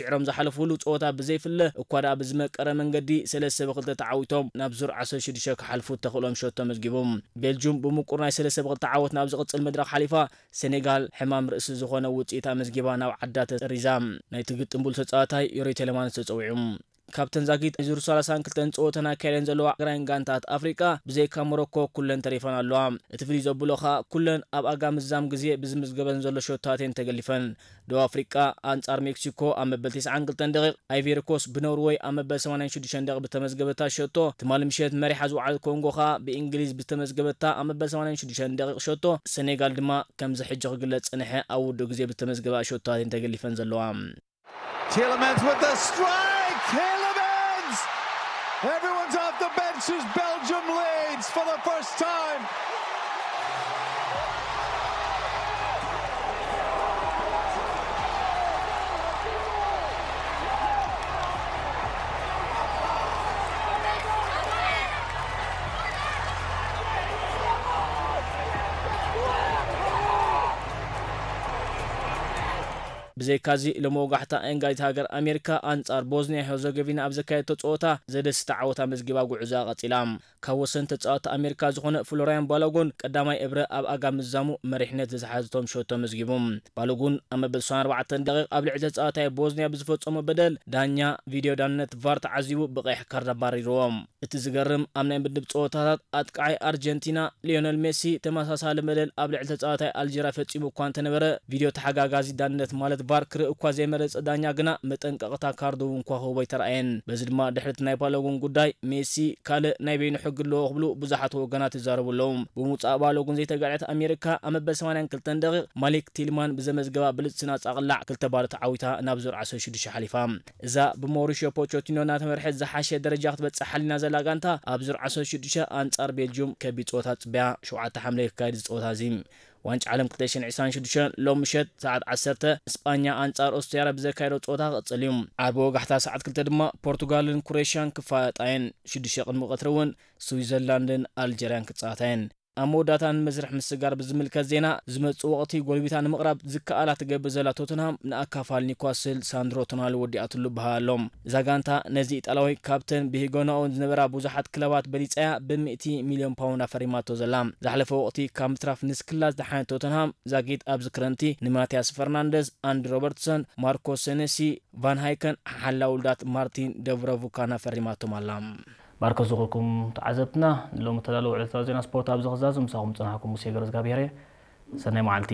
ስዒሮም ዝሓለፉሉ ጸወታ ብዘይፍለ እኳ ደኣ ብዝመቀረ መንገዲ ሰለስተ ብክልተ ተዓዊቶም ናብ ዙር ዓሰርተ ሽዱሽተ ክሓልፉ እተኽእሎም ሸቶ ኣመዝጊቦም። ቤልጁም ብምቁር ናይ ሰለስተ ብክልተ ዓወት ናብ ዝቕጽል መድረኽ ሓሊፋ፣ ሴኔጋል ሕማም ርእሲ ዝኾነ ውጽኢት ኣመዝጊባ ናብ ዓዳ ተሰሪዛ። ናይቲ ግጥም ብሉጽ ተጻዋታይ ዮሪ ቴለማንስ ተጸዊዑ። ካብተን ዛጊት ዙር ሰላሳን ክልተን ጸወተን ኣካይደን ዘለዋ ኣግራይን ጋንታት ኣፍሪቃ ብዘይካ ሞሮኮ ኩለን ተሪፈን ኣለዋ። እቲ ፍልይ ዘብሎ ኸኣ ኩለን ኣብ ኣጋ ምዛም ግዜ ብዝምዝገበን ዘሎ ሸቶታት እየን ተገሊፈን። ደቡብ ኣፍሪቃ ኣንጻር ሜክሲኮ ኣብ መበል ተስዓን ክልተን ደቂቕ፣ ኣይቬሪ ኮስት ብኖርወይ ኣብ መበል ሰማንያን ሽዱሽተን ደቂቕ ብተመዝገበታ ሸቶ፣ ትማሊ ምሸት መሪሓ ዝወዓለት ኮንጎ ኸኣ ብእንግሊዝ ብተመዝገበታ ኣብ መበል ሰማንያን ሽዱሽተን ደቂቕ ሸቶ፣ ሰኔጋል ድማ ከምዚ ሕጂ ክግለጽ ጸንሐ ኣብ ውዱእ ግዜ ብተመዝገባ ሸቶታት እየን ተገሊፈን ዘለዋ። Tielemans with the strike! Tielemans! Everyone's off the bench as Belgium leads for the first time. ብዘይካዚ፣ ሎሚ ወጋሕታ፣ ኣንጋሊት ሃገር ኣሜሪካ ኣንጻር ቦዝኒያ ሄርዘጎቪና ኣብ ዘካየደቶ ጸወታ ዘደስታ ዓወት ኣመዝጊባ ጉዕዞኣ ቀጺላ። ካብ ወሰንቲ ተጻወትቲ ኣሜሪካ ዝኾነ ፍሎርያን ባሎጉን ቀዳማይ እብረ ኣብ ኣጋ ምዛሙ መሪሕነት ዝሓዘቶም ሸቶ ኣመዝጊቡ። ባሎጉን ኣብ መበል ሰብዓን ኣርባዕተን ደቂቕ ኣብ ልዕሊ ተጻዋታይ ቦዝኒያ ብዝፈጸሞ በደል ዳኛ ቪድዮ ዳንነት ቫር ተዓዚቡ ብቐይሕ ካርድ ኣባሪርዎ። እቲ ዝገርም፣ ኣብ ናይ ምድብ ጸወታታት ኣጥቃዓይ ኣርጀንቲና ሊዮነል ሜሲ ተመሳሳሊ በደል ኣብ ልዕሊ ተጻዋታይ ኣልጀርያ ፈጺሙ እኳ እንተነበረ፣ ቪድዮ ተሓጋጋዚ ዳንነት ማለት ቫር ክርኢ እኳ ዘይመረጸ ዳኛ ግና መጠንቀቕታ ካርድ እውን ክወሃቦ ኣይተራእየን። በዚ ድማ ድሕሪ እቲ ናይ ባሎጉን ጉዳይ ሜሲ ካልእ ናይ በይኑ ሕጊ ኣለዎ ክብሉ ብዙሓት ወገናት ይዛረቡ ኣለዉ። ብምውጻእ ባሎጉን ዘይተጋዕየት ኣሜሪካ ኣብ መበል ሰማንያን ክልተን ደቂቕ ማሊክ ቲልማን ብዘመዝገባ ብልጽቲ ናጻ ቅላዕ ክልተ ባዶ ተዓዊታ ናብ ዙር ዓሰርተ ሽዱሽተ ሓሊፋ። እዛ ብሞሪሽዮ ፖቾቲኖ እናተመርሐት ዝሓሸ ደረጃ ክትበጽሕ ሓሊና ዘላ ጋንታ፣ ኣብ ዙር ዓሰርተ ሽዱሽተ ኣንጻር ቤልጅዩም ከቢድ ጸወታ ጽበያ፣ ሸውዓተ ሓምለ ክካየድ እዚ ጸወታ እዚ። ዋንጫ ዓለም ክልተ ሽሕን ዕስራን ሽዱሽተን ሎም ምሸት ሰዓት ዓሰርተ እስጳኛ ኣንጻር ኦስትርያ ብዘካየዶ ጸወታ ክቕጽል እዩ። ዓርቢ ወጋሕታ ሰዓት ክልተ ድማ ፖርቱጋልን ክሮኤሽያን ክፋለጣ እየን። ሽዱሽተ ቅድሚ ቀትሪ እውን ስዊዘርላንድን ኣልጀርያን ክጻወታ እየን። ኣብ መወዳእታ ንመስርሕ ምስጋር ብዝምልከት ዜና፣ ዝመጽእ ወቕቲ ጎልቢታ ንምቕራብ ዝከኣላ ትገብር ዘላ ቶተንሃም ንኣካፋል ኒውካስል ሳንድሮ ቶናሊ ወዲኣትሉ በሃ ኣሎ። እዛ ጋንታ ነዚ ኢጣልያዊ ካብተን ብሂጎናኡ ዝነበራ ብዙሓት ክለባት በሊጻያ ብሚእቲ ሚልዮን ፓውንድ ኣፈሪማቶ ዘላ። ዝሓለፈ ወቕቲ ካብ ምትራፍ ንስክላ ዝደሓነት ቶተንሃም ዛጊት ኣብዚ ክረምቲ ንማቲያስ ፈርናንደስ፣ ኣንዲ ሮበርትሰን፣ ማርኮ ሴኔሲ፣ ቫን ሃይከን ሓላ ውሉዳት ማርቲን ደብረቡካን ኣፈሪማቶም ኣላ። ማርኮስ ዝኾንኩም ተዓዘብትና፣ ንሎሚ እተዳለወ ዕለታዊ ዜና ስፖርት ኣብዚ ክዛዝም ምሳኹም ዝጸናሕኩም ሙሴ ገረዝጋብሄር እየ። ሰናይ መዓልቲ።